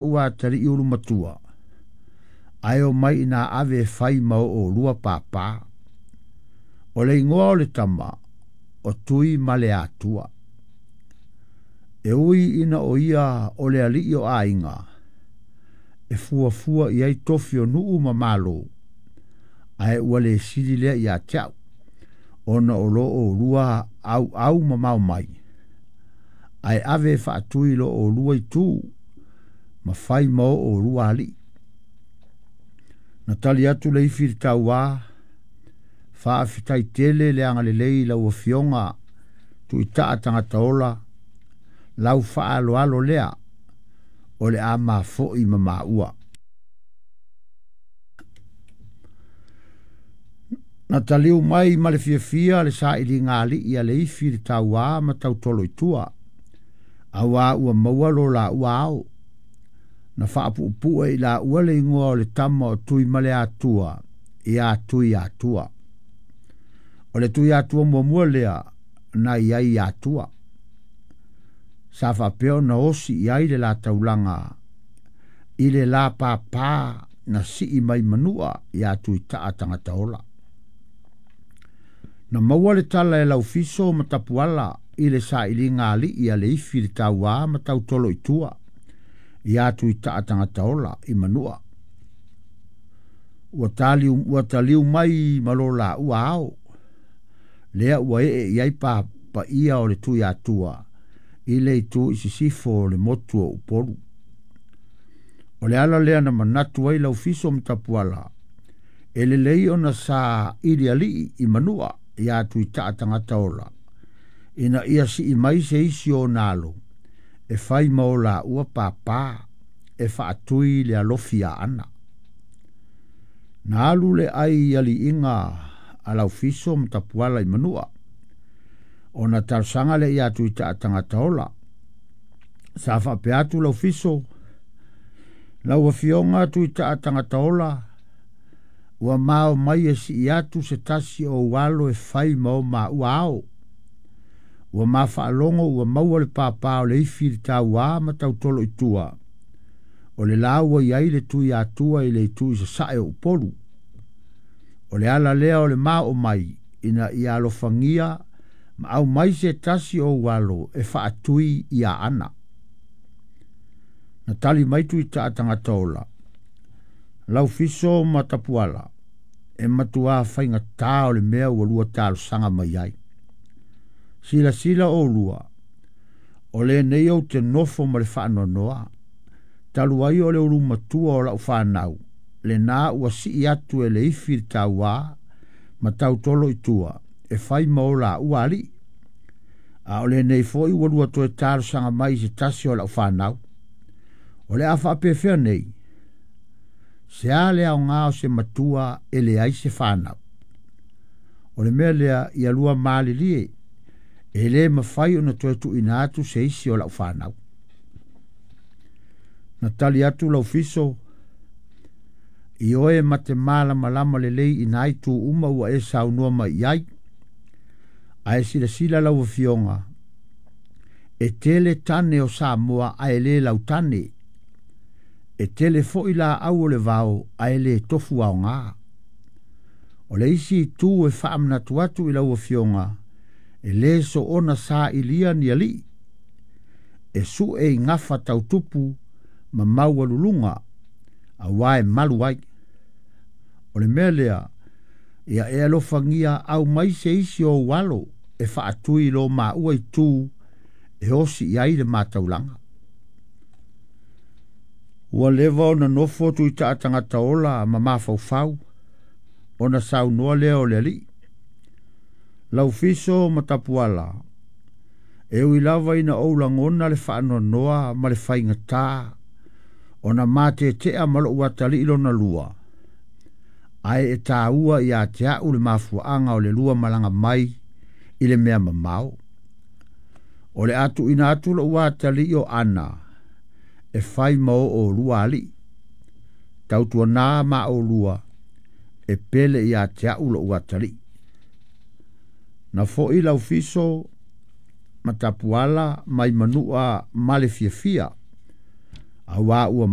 Lou atalii ulumatua, ae omai ina ave e fai ma o oulua pāpā. O le igoa o le tama, o Tuimaleatua. E ui ina o ia o le alii o aiga, e fuafua i ai tofi o nuu ma malo, ae ua le sili lea ia te au, ona o lo oulua auau mamao mai, ae ave e faatui lo oulua itu, ma fai ma o oulua alii. Na tali atu le ifi i le tauā, Faafetai tele le agalelei i lau Afioga Tuitaa Tagata Ola, lau faaaloalo lea o le a mafo'i ma maua. Na taliu mai ma le fiafia le sailiga alii a le ifi i le tauā ma tautolo i tua, auā ua maua lo laua ao. Na faapuupue i laua le igoa o le tama o Tuimaleatua ia Tuiatua. O le Tuiatua muamua lea na i ai i Atua. Sa faapea ona osi i ai le la taulaga i le la pāpā na sii mai Manua ia Tuitaa Tagata Ola. Na maua le tala e Laufiso ma Tapuala i le sailiga alii a le ifi i le tauā ma tautolo i tua ia Tuitaa Tagata Ola i Manua. Ua taliu, ua taliu mai ma lo laua ao, lea ua ee i ai pa, paia o le Tuiatua i le itu i sisifo o le motu o Upolu. O le ala lea na manatu ai Laufiso ma Tapuala, e lelei ona sa ili alii i Manua ia Tuitaa Tagata Ola, ina ia sii mai se isi o ona alo, e fai ma o laua pāpā e faatui le alofi ia Ana. Na alu le ai aliiga a Laufiso ma Tapuala i Manua, ona talosaga lea ia Tuitaa Tagata Ola. Sa faapea atu Laufiso, Lau Afioga Tuitaa Tagata Ola, ua mao mai e sii atu se tasi o ou alo e fai ma o maua ao. Ua ma faalogo ua maua le pāpā o le ifi i le tauā ma tautolo i tua, o le la ua i ai le Tuiatua i le itu i sasae o Upolu. O le ala lea o le mao mai ina ia alofagia ma aumai se tasi o ou alo e faatui ia Ana. Na tali mai Tuitaa Tagata Ola, Laufiso ma Tapuala, e matuā faigata o le mea ua lua talosaga mai ai. Silasila oulua, o lenei ou te nofo ma le faanoanoa, talu ai o le ulumatua o lau fanau, lena ua sii atu e le ifi i le tauā ma tautolo i tua, e fai ma o laua alii. A o lenei foi ua lua toe talosaga mai i se tasi o lau fanau. O le a faapefea nei? Se a le aoga o se matua e leai se fanau? O le mea lea ia lua malilie, e le mafai ona toe tuuina atu se isi o lau fanau. Na tali atu Laufiso, Ioe ma te malamalama lelei i nā itu uma ua e saunoa mai i ai. Ae silasila lau Afioga, e tele tane o Samoa ae le lautane. E tele foi laau o le vao ae le tofu aoga. O le isi itu e faamanatu atu i lau Afioga, e le soona sailia ni alii, e sue i gafa tautupu ma maualuluga, auā e malu ai. O le mea lea, ia e alofagia aumai se isi o ou alo e faatui i lo maua itu e osi i ai le mataulaga. Ua leva ona nofo Tuitaa Tagata Ola ma mafaufau, ona saunoa lea o le alii. Laufiso ma Tapuala, e ui lava ina ou lagona le faanoanoa ma le faigata ona matetea ma lou atalii lona lua, ae e taua ia te au le mafuaaga o le lua malaga mai i le mea mamao. O le a tuuina atu lou atalii o Ana e fai ma o oulua alii. Tautuana ma oulua e pele ia te au lou atalii. Na fo'i Laufiso ma Tapuala mai Manua ma le fiafia, Auā ua